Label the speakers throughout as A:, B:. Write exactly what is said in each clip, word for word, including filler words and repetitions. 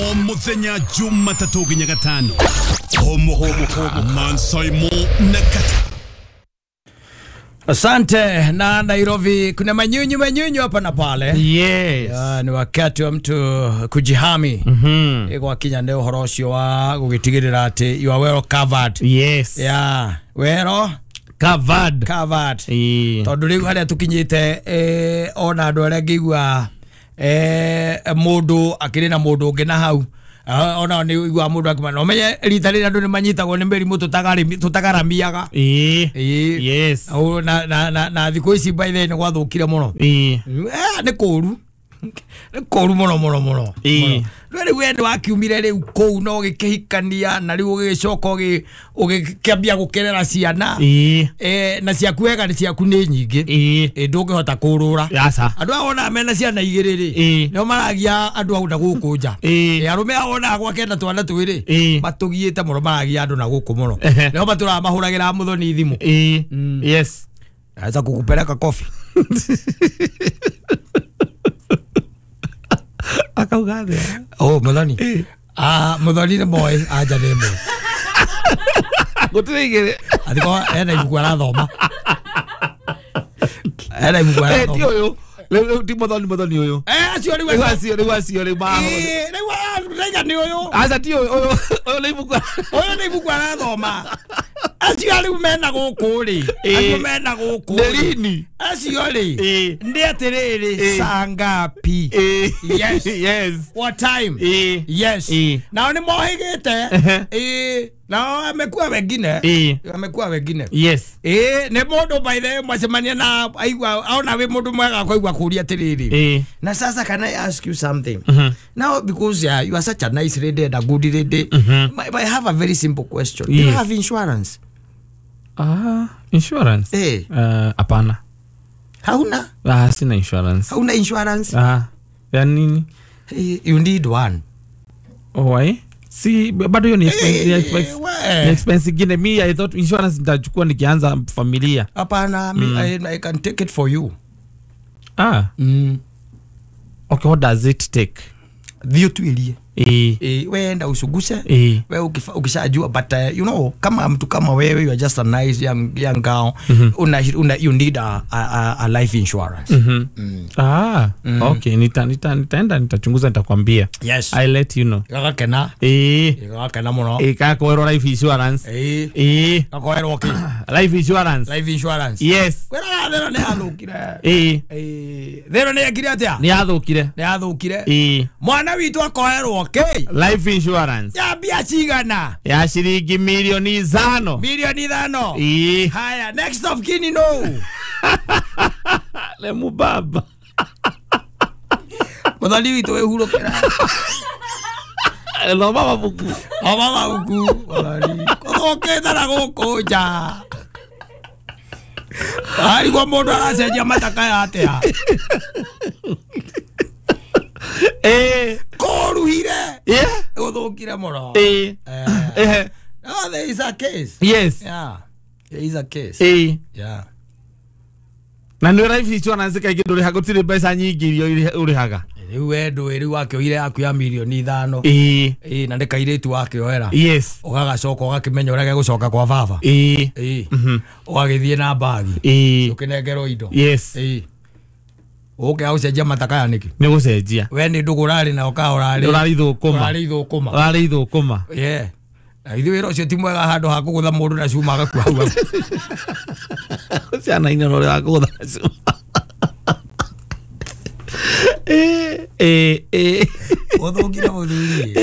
A: O muthenya Jumatatu nginya Gatano. Homo Mansaimo na Kata.
B: Asante. Na Nairobi kuna manyunyu manyunyu hapa na pale.
C: Yes.
B: Ya, ni wakati wa mtu kujihami.
C: Mhm.
B: Mm Kwa kinya ndio horo ucio wa gugitigirira ati you are well covered.
C: Yes.
B: Yeah, well
C: covered.
B: Covered.
C: Eh.
B: Tondu riu haria tukinyite eh ona andu aria ngigua eh mundu akiri na mundu ungi na hau. Ona ni igua mundu akima no menye rita rira andu ni manyitagwo ni mirimu tutagarimi tutagaramiaga.
C: Eh.
B: Eh.
C: Yes.
B: Na na na na thiku ici by the way ni gwathukire muno.
C: Eh.
B: Eh ni kuru. Ni kuru muno muno muno.
C: Eh.
B: Rĩu we nĩ wakiumire rĩu kũu na ũgĩkĩhikania na rĩu ũgĩgĩcoka ũgĩkĩambia gũkerera ciana.
C: Eh.
B: Eh na ciaku wega nĩ ciaku nĩ nyingĩ.
C: Eh.
B: Ndũngĩhota kũrũra.
C: Aca.
B: Andũ aya wonaga mena ciana igĩrĩ rĩ.
C: Eh.
B: Nĩo maragia andũ au na gũkũ nja.
C: Eh.
B: Arũme aya wonaga gwake na twana twĩrĩ.
C: Eh.
B: Matũgiĩte mũno maragia andũ na gũkũ mũno. Nĩo matũraga mahũragĩra mũthoni thimũ.
C: Eh. Yes.
B: Naweza kukupeleka kofi.
C: Akauga atia?
B: Oh, muthoni. Ah, muthoni nĩ moĩ, anja nĩ moĩ.
C: Gũtirĩ igĩrĩ.
B: Athiko ena ibuku arathoma. Ena ibuku arathoma.
C: Eh, ti ũyũ. Rĩu ti muthoni muthoni ũyũ.
B: Eh, acio rĩu
C: Rĩu acio rĩu acio rĩu ma.
B: Eh, rĩu rĩu nĩ ũyũ.
C: Aca ti ũyũ ũyũ ũyũ nĩ ibuku.
B: Ũyũ nĩ ibuku arathoma. Acio rĩu mena gũkũ rĩ. Acio mena gũkũ.
C: Nĩ rini.
B: Acio rĩ.
C: Eh.
B: Nĩ atĩrĩrĩ saa ngapi?
C: Eh.
B: Yes.
C: Yes.
B: What time?
C: Eh.
B: Yes.
C: Eh.
B: Nao nĩ mohĩgĩte. Eh. Nao amekuwa wengine.
C: Eh.
B: Amekuwa wengine.
C: Yes.
B: Eh, nĩ mũndũ by the way mwacemania na aigua aona wĩ mũndũ mwega akaigua kũria atĩrĩrĩ.
C: Eh.
B: Na sasa can I ask you something?
C: Mm-hmm.
B: Now because yeah, you are such a nice lady and a good lady.
C: Mm-hmm.
B: But I have a very simple question.
C: Yes.
B: Do you have insurance?
C: Ah, insurance?
B: Eh.
C: Uh, hapana.
B: Hauna?
C: Ah, sina insurance.
B: Hauna insurance?
C: Ah, ya nini?
B: Hey, you need one.
C: Oh, why? Si bado hiyo ni expense,
B: hey,
C: expense, ni expense ingine. Me I thought insurance nitachukua nikianza familia.
B: Hapana, mm. I, I can take it for you.
C: Ah.
B: Mm.
C: Okay, what does it take?
B: Thio tuilie.
C: Eh.
B: Eh, wewe enda usuguse.
C: Eh.
B: Wewe ukishajua but uh, you know kama mtu kama wewe you are just a nice young young girl.
C: Mm-hmm.
B: Una, una you need a a, a life insurance.
C: Mhm.
B: Mm.
C: Ah,
B: mm.
C: Okay, nita nita nitaenda nitachunguza nitakwambia.
B: Yes.
C: I let you know.
B: Gakena.
C: Eh.
B: Gakena muno.
C: Eh, kakoerwo life insurance.
B: Eh.
C: Eh.
B: Gakoerwo ki?
C: Life insurance.
B: Life insurance.
C: Yes.
B: Kwera thero nĩ yathũkire.
C: Eh.
B: Eh. Thero nĩ yekire atia?
C: Nĩ yathũkire.
B: Nĩ yathũkire.
C: Eh.
B: Mwana witũ akoerwo okay.
C: Life insurance.
B: Ya mbia cigana?
C: Ya shilingi milioni ithano.
B: Milioni ithano.
C: Eh.
B: Haya, next of kin no.
C: Le mubaba.
B: Muthoni witũ wĩhurũkĩra.
C: Thoma mabuku.
B: Thoma mabuku. Muthoni. Gũthũkĩte na gũkũ nja. Arigwo mũndũ aracenjia matakaya atĩa?
C: Eh.
B: Kũruhire.
C: Yeah.
B: Gũthũkire mũno.
C: Eh. Eh.
B: No, there is a case.
C: Yes.
B: Yeah. There is a case.
C: Eh.
B: Yeah.
C: Na nĩ life insurance kaingĩ ndũrĩhaga gũtirĩ mbeca nyingĩ iria ũrĩhaga.
B: Rĩu we ndũĩ rĩu wakĩoire yaku ya milioni ithano.
C: Eh.
B: Eh, na nĩ kairĩtu wakĩoera.
C: Yes.
B: Ũgagacoka ũgakĩmenya ũrĩa gegũcoka kwa baba.
C: Eh.
B: Eh.
C: Mhm.
B: Ũgagĩthiĩ na mbagi.
C: Eh.
B: Ũkĩnengerwo indo.
C: Yes.
B: Eh. Ũke ũcenjia matakaya nĩkĩ?
C: Nĩ gũcenjia.
B: We nĩ ndũgũ ũrarĩ na ũka ũrarĩ.
C: Ũrarĩ thũkũma.
B: Ũrarĩ thũkũma.
C: Ũrarĩ thũkũma.
B: Yeah. Na ithuĩ wĩra ũcio ti mwega handũ ha kũgũtha mũndũ na cuma agakua hau.
C: Ciana inĩ ũrĩa wa kũgũtha na cuma. Eh eh eh.
B: Ũthũkire mũthuri.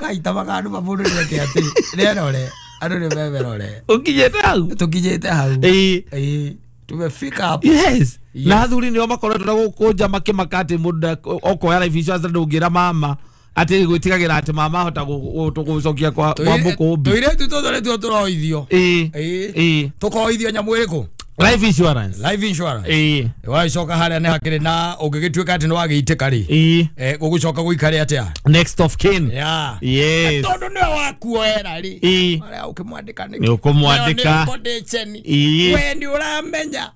B: Ngai tamaga andũ ma mũndũ nĩeke atĩ nĩerore andũ nĩ memerore.
C: Ũkinyĩte hau?
B: Tũkinyĩte hau.
C: Eh.
B: Eh. Tumefika hapo.
C: Yes.
B: Yes.
C: Na athuri nĩo makoretwo na gũkũ nja makĩmaka atĩ mũndũ okoya life insurance ndũngĩra mama atĩ gwĩtigagĩra atĩ mama ahota gũcokia kwa kwa mũkũmbi.
B: Tũirĩtu tũtũ nĩtuo tũroithio.
C: Eh.
B: Eh. Tũkoithio nyamũ ĩrĩkũ?
C: Life insurance.
B: Life insurance.
C: Eh.
B: Wacoka harĩa nĩ hakĩrĩ na ũngĩgĩtuĩka atĩ nĩ wagĩitĩka rĩ.
C: Eh.
B: Eh, gũgũcoka gũikare atĩa?
C: Next of kin.
B: Yeah.
C: Yes.
B: Tondũ nĩwe wakuoera rĩ.
C: Eh.
B: Harĩa ũkĩmwandĩka nĩkĩ?
C: Nĩ ũkũmwandĩka.
B: Nĩ ũkũndĩcheni.
C: Eh.
B: We nĩ ũramenya.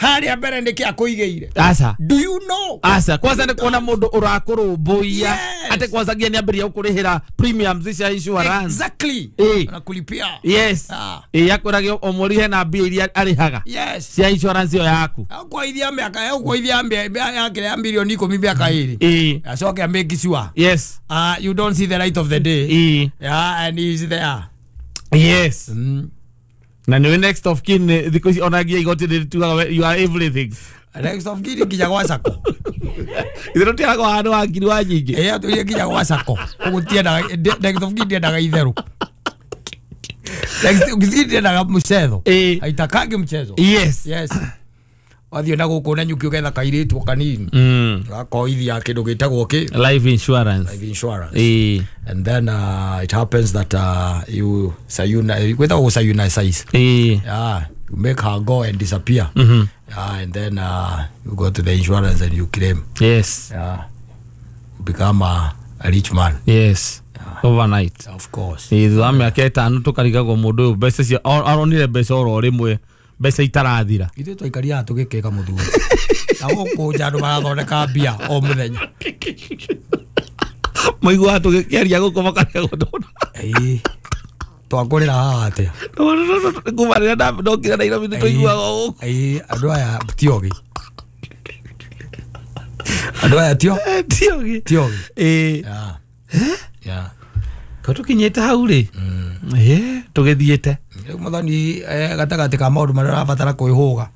B: Harĩa mbere nĩkĩ akũigĩire?
C: Aca.
B: Do you know?
C: Aca kwanza nĩ kuona mũndũ ũrakũrũmbũiya atĩ kwanza nginya nĩambĩrĩria gũkũrĩhĩra premiums cia insurance.
B: Exactly. Anakulipia.
C: Yes. Ĩ akwĩrage o mweri hena mbia iria arĩhaga.
B: Yes.
C: Cia insurance ĩyo yaku.
B: Akũithia mĩaka akũithia mĩaka ya milioni ikũmi mĩaka ĩrĩ.
C: Ĩ.
B: Acoke amake sure.
C: Yes.
B: Uh, you don't see the light of the day.
C: Ĩ.
B: Yeah, and he's there.
C: Yes.
B: Mm.
C: Na nĩ next of kin thikũ ici onagia igoti rĩtugaga you are everything.
B: Next of kin nginya gwa sako.
C: Itherũ tiaragwo handũ wa ngiri wa nyingĩ.
B: Ĩ atũire nginya gwa sako. Ũguo tiendaga next of kin ndiendaga itherũ. Next of kin ndiendaga mchezo. Haitakangi mchezo.
C: Yes.
B: Yes. Wathiĩ na gũkũ na nyuki ũgetha kairĩtu kanini.
C: Mm.
B: Gakoithia kĩndũ gĩtagwo kĩ?
C: Life insurance.
B: Life insurance.
C: Eh.
B: And then uh, it happens that uh, you sayuna without sayuna size.
C: Eh.
B: Yeah, you make her go and disappear.
C: Mm-hmm.
B: Yeah, and then uh, you go to the insurance and you claim.
C: Yes.
B: Yeah. You become a, a rich man.
C: Yes.
B: Yeah.
C: Overnight.
B: Of course.
C: Eh, thutha wa mĩaka ĩtano tũkarigagwo mũndũ ũyũ mbeca cia aronire mbeca oro rĩmwe mbeca itarathira.
B: Ithuĩ twaikaria tũgĩkĩka mũthuri. Na gũkũ nja andũ marathondeka mbia o mũthenya.
C: Maiguaga tũgĩkĩaria gũkũ makarigagwo ndona.
B: Ĩĩ. Twakũrĩra haha atĩa?
C: Kuma rĩrĩa ndokire Nairobi nĩ tũiguaga o gũkũ.
B: Ĩĩ, andũ aya ti ogĩ. Andũ aya tio?
C: Ti ogĩ.
B: Ti ogĩ.
C: Ĩĩ.
B: Yeah. Yeah.
C: Ko tũkinyĩte hau rĩ? Ĩĩ, tũgĩthiĩte.
B: Rĩu Muthoni gatagatĩ ka maũndũ marĩa ũrabatara kwĩhũga.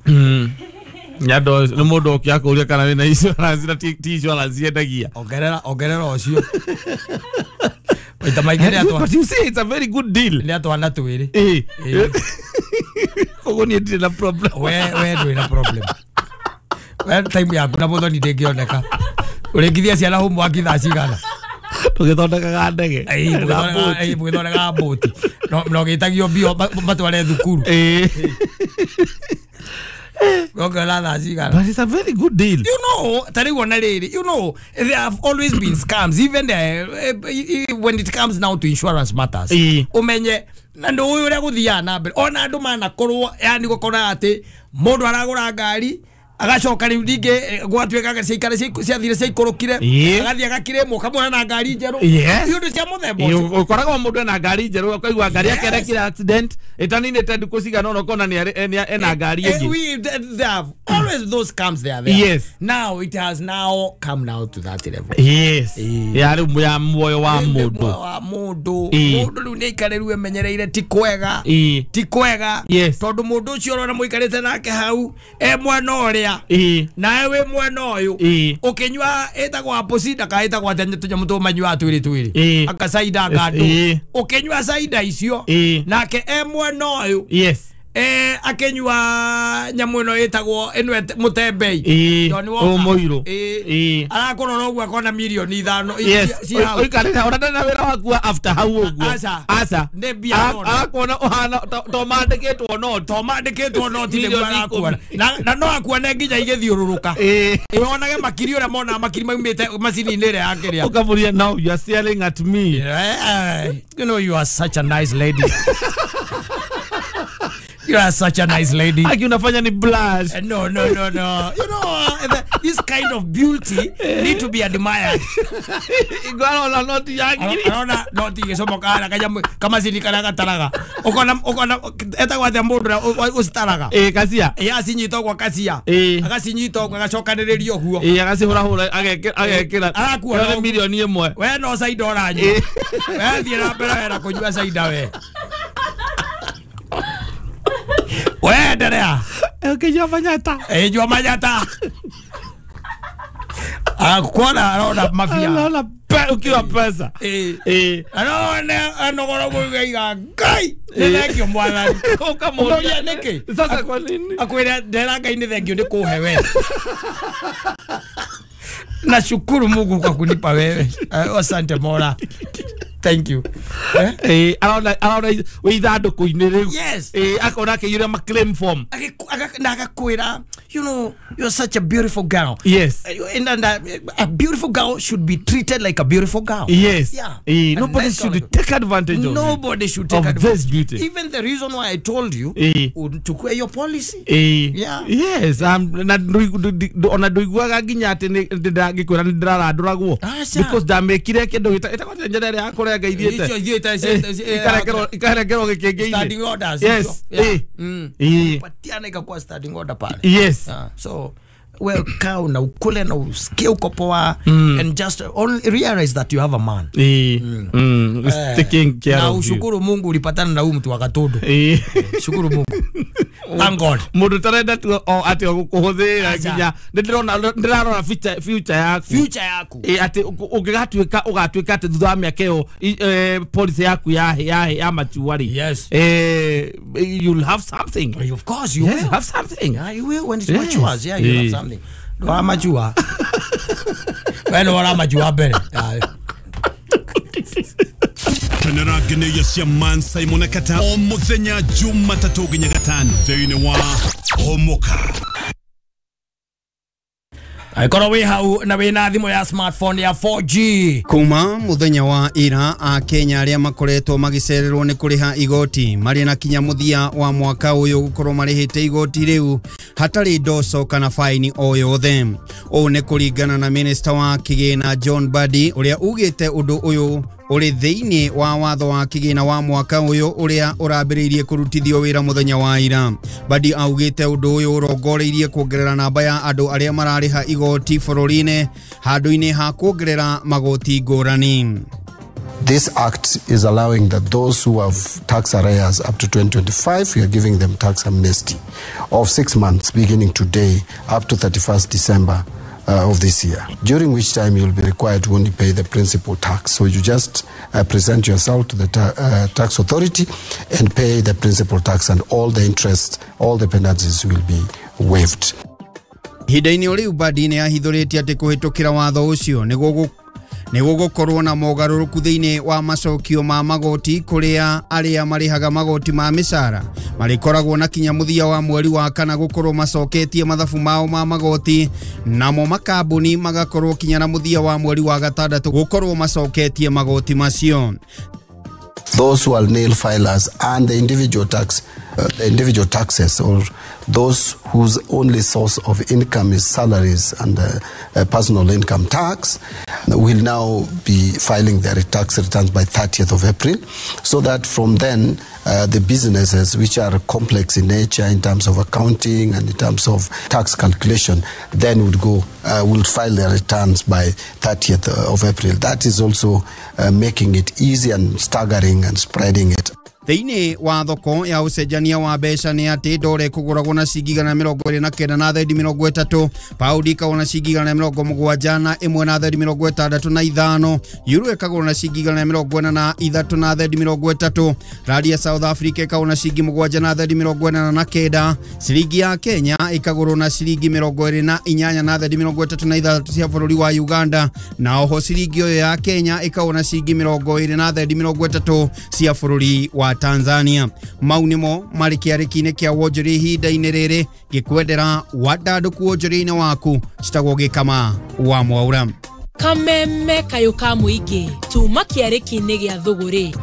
C: Nyando nĩ mũndũ ũkĩ akũria kana wĩna insurance na ti insurance yendagia.
B: Ongerera ongerera ũcio. Maita maingĩ nĩ atwa.
C: But you see it's a very good deal.
B: Nĩ atwana twĩrĩ.
C: Ĩĩ. Koguo niĩ ndirĩ na problem.
B: We we ndũrĩ na problem. We time yaku na Muthoni ndĩngĩoneka. Ũrĩngithia ciana homework thaa cigana?
C: Tũgĩthondekaga ndege.
B: Ĩĩ, mũgĩthondekaga mbũti. No no gĩtagio mbio matware thukuru.
C: Ĩĩ.
B: But
C: it's a very good deal.
B: You know, you know, there have always been scams, even uh, when it comes now to insurance matters. Umenye, na ndo uyu uria guthiaga na mbere ona andu manakorwo yani gukora ati mundu aragura ngari agacoka riu ringi gwatuika ciikare ciathire ciikurukire agathie agakiremwo kamwona na ngari njeru iundu cia muthemba ucio
C: ukoragwo mundu ena ngari njeru ukaigua ngari yake erekire accident itaninite ndukũ cigana ũna ũkona ni ena ngari ĩngĩ.
B: We they have always those scams they are there.
C: Yes.
B: Now it has now come now to that level.
C: Yes. Ya riu ya muoyo wa mundu
B: wa mundu mundu riu ni aikare riu emenyereire ti kwega ti kwega tondu mundu ucio urona muikarite nake hau e mwana uria nawe wi mwana uyu ukinywa itagwo apple cider ka itagwo atia tunyamu tumanyua twiri twiri akacaida ngandu ukinywa cider icio nake e mwana uyu.
C: Yes.
B: Eh akenywa nyamu ino itagwo ino mutembei Johnny Walker
C: muiru
B: eh arakorora uguo akona milioni ithano
C: ci hau oikarira ona ndana wira waku after hau uguo aca
B: nĩ mbia
C: arakuona uhana to mandikitwo no
B: to mandikitwo no ti nĩguo arakuona na no akuone nginya igĩthiũrũrũka ĩonage makiri ũrĩa mona makiri maumĩte macini-inĩ ĩrĩa ya kĩrĩa
C: ũkamũria now you are staring at me.
B: You know you are such a nice lady. You are such a nice lady.
C: Aki unafanya ni blush.
B: Uh, no, no, no, no. You know, uh, the, this kind of beauty need to be admired.
C: Igwaro noti yake.
B: Arona noti igicomoka hara kanyamu kamacini karia gataraga. Ukona ukona etagwo atia mundu ucitaraga.
C: Eh, kacia.
B: Eh, acinyita ũguo kacia.
C: Eh.
B: Agacinyita ũguo agacokanĩrĩria ũguo.
C: Eh, agacihũrahũra agekĩra agekĩra.
B: Arakuona
C: milioni ĩmwe.
B: We no caida ũranyua. We thiĩ na mbere wena kũnyua caida we. Wenderea.
C: Ũkĩnyua manyata.
B: Eh, nyua manyata. Akuona arona mafia.
C: Arona pe ukiwa pesa.
B: Eh.
C: Eh.
B: Arona anogora kuiga Ngai. Nĩ thengio mwathani.
C: Ũkamũria
B: nĩkĩ?
C: Sasa kwa nini?
B: Akwĩra ndera Ngai nĩ thengio nĩ kũhe we. Nashukuru Mungu kwa kunipa wewe. Asante Mola. Thank you.
C: Eh, eh arona arona wi ithandũkũ-inĩ rĩu.
B: Yes.
C: Eh, akona akĩiyũria ma claim form.
B: Na agakwĩra You know, you're such a beautiful girl.
C: Yes.
B: And, and uh, a beautiful girl should be treated like a beautiful girl.
C: Yes.
B: Yeah.
C: Eh, nobody
B: nice
C: should
B: like,
C: take advantage of
B: Nobody should take
C: of
B: advantage.
C: this beauty.
B: Even the reason why I told you
C: eh.
B: to your policy.
C: Eh.
B: Yeah.
C: Yes. Um, na ona nduiguaga nginya ati ndingikwira ni ndiraranduragwo because ndamekire kindu gitagwo njera ria kurenga ithiete ikarengerwo ikarengerwo gikingi-ini.
B: Standing orders.
C: Yes.
B: Yeah.
C: Eh.
B: Mm.
C: Eh.
B: Patiana ikakuwa standing order pale.
C: Yes.
B: Uh, so well, kaa na ukule na usikie uko poa
C: mm.
B: and just only realize that you have a man.
C: Eh. Mm. Mm.
B: Eh,
C: taking care
B: na
C: of you.
B: Ushukuru Mungu ulipatana na huyu mtu wa Gatundu.
C: Eh.
B: Shukuru Mungu. Thank God.
C: Mundu tarenda tu o ati gukuhuthira nginya ndirona ndirarora future future yaku.
B: Future yaku.
C: Eh, ati ungigatuika ugatuika ati thutha wa miaka iyo policy yaku ya ya ya mature.
B: Yes.
C: Eh, you'll have something.
B: Of course you
C: yes,
B: will
C: have something.
B: Yeah, you will when it's
C: yes.
B: matures. Yeah, you'll have something. Ndo amajua. Wewe ora amajua mbere.
A: Kenera geneya cia Man Simon Kata o muthenya Jumatatu nginya gatano thiini wa Homoka.
B: Aikorwo wi hau na wina thimu ya smartphone ya four G.
D: Kuma muthenya wa ira a Kenya aria makoretwo magicererwo ni kuriha igoti mari na kinya muthia wa mwaka uyu gukorwo marihite igoti riu hatari ndoco kana faini o yothe. Uu ni kuringana na minister wa kigina John Mbadi uria ugite undu uyu uri thiini wa watho wa kigina wa mwaka uyu uria urambiriirie kurutithio wira muthenya wa ira. Mbadi augite undu uyu urongoreirie kuongerera namba ya andu aria marariha igoti bururi-ini handu-ini ha kuongerera magoti ngurani.
E: This act is allowing that those who have tax arrears up to twenty twenty-five, we are giving them tax amnesty of six months beginning today up to thirty-first December uh, of this year, during which time you'll be required to only pay the principal tax. So you just uh, present yourself to the ta uh, tax authority and pay the principal tax, and all the interest, all the penalties will be waived.
D: Ihinda-inĩ o rĩu Mbadi nĩ ahithũrĩtie atĩ kũhĩtũkĩra watho ũcio nĩ gũgũkorwo na mogarũrũku thĩinĩ wa macokio ma magoti kũrĩa arĩa marĩhaga magoti ma mĩcara marĩkoragwo na kinya mũthia wa mweri wa kana gũkorwo macoketie mathabu mao ma magoti, namo makambuni magakorwo kinya na mũthia wa mweri wa gatandatũ gũkorwo macoketie magoti macio.
E: Those who are nil filers and the individual tax, uh, the individual taxes, or those whose only source of income is salaries and uh, uh, personal income tax, will now be filing their tax returns by thirtieth of April, so that from then uh, the businesses which are complex in nature in terms of accounting and in terms of tax calculation then would go uh, will file their returns by thirtieth of April. That is also uh, making it easy and staggering and spreading it.
D: Thĩinĩ wa thoko ya ũcenjania wa mbeca nĩ atĩ ndore kũgũragwo na ciringi igana mĩrongo ĩrĩ na kenda na thendi mĩrongo ĩtatũ, paundi ĩkagũrwo na ciringi igana mĩrongo mũgwanja na ĩmwe na thendi mĩrongo ĩtandatũ na ithano, euro ĩkagũrwo na ciringi igana mĩrongo ĩna na ithatũ na thendi mĩrongo ĩtatũ, randi ya South Africa ĩkagũrwo na ciringi mũgwanja na thendi mĩrongo ĩnana na kenda, ciringi ya Kenya ĩkagũrwo na ciringi mĩrongo ĩrĩ na inyanya na thendi mĩrongo ĩtatũ na ithathatũ cia bũrũri wa Uganda, na oho ciringi ĩyo ya Kenya ĩkagũrwo na ciringi mĩrongo ĩrĩ na thendi mĩrongo ĩtatũ cia bũrũri wa Tanzania. Mau nĩmo marĩ kĩarĩki-inĩ kĩa wonjoria ihinda-inĩ rĩrĩ ngĩkwendera wandandũku wonjoria-inĩ waku citagwo Gĩkama wa Mwaura.
F: Kameme kayũ ka mũingĩ tuma kĩarĩki-inĩ gĩa thũgũrĩ.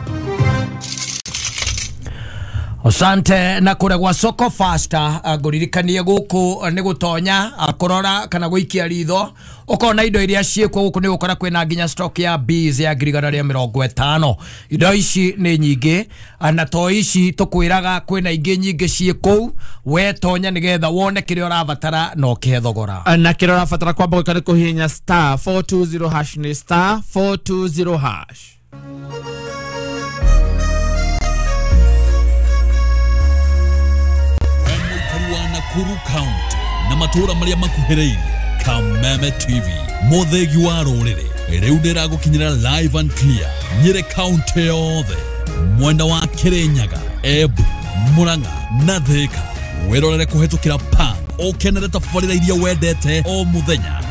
B: Asante na kũrĩa gwa Soko Faster ngũririkanie gũkũ nĩ gũtonya kũrora kana gũikia ritho ũkona indo iria ciĩkuo gũkũ nĩ gũkora kwĩna nginya stock ya bees ya ngiri igana rĩa mĩrongo ĩtano. Indo ici nĩ nyingĩ na to ici tũkwĩraga kwĩna ingĩ nyingĩ ciĩ kũu, we tonya nĩgetha wone kĩrĩa ũrabatara na ũkĩhe thogora.
C: Na kĩrĩa ũrabatara kwamba gwĩka nĩ kũhihinya star four two zero hash, nĩ star four two zero hash.
A: Nakuru County na matura maria makuhĩrĩirie. Kameme T V mũthĩgi wa rũrĩrĩ rĩu ndĩragũkinyĩra live and clear Nyĩrĩ County yothe, mwena wa Kirinyaga, Embu, Murang'a na Thika. Wĩrorere kũhĩtũkĩra pan ũkenere tabarĩra iria wendete o mũthenya.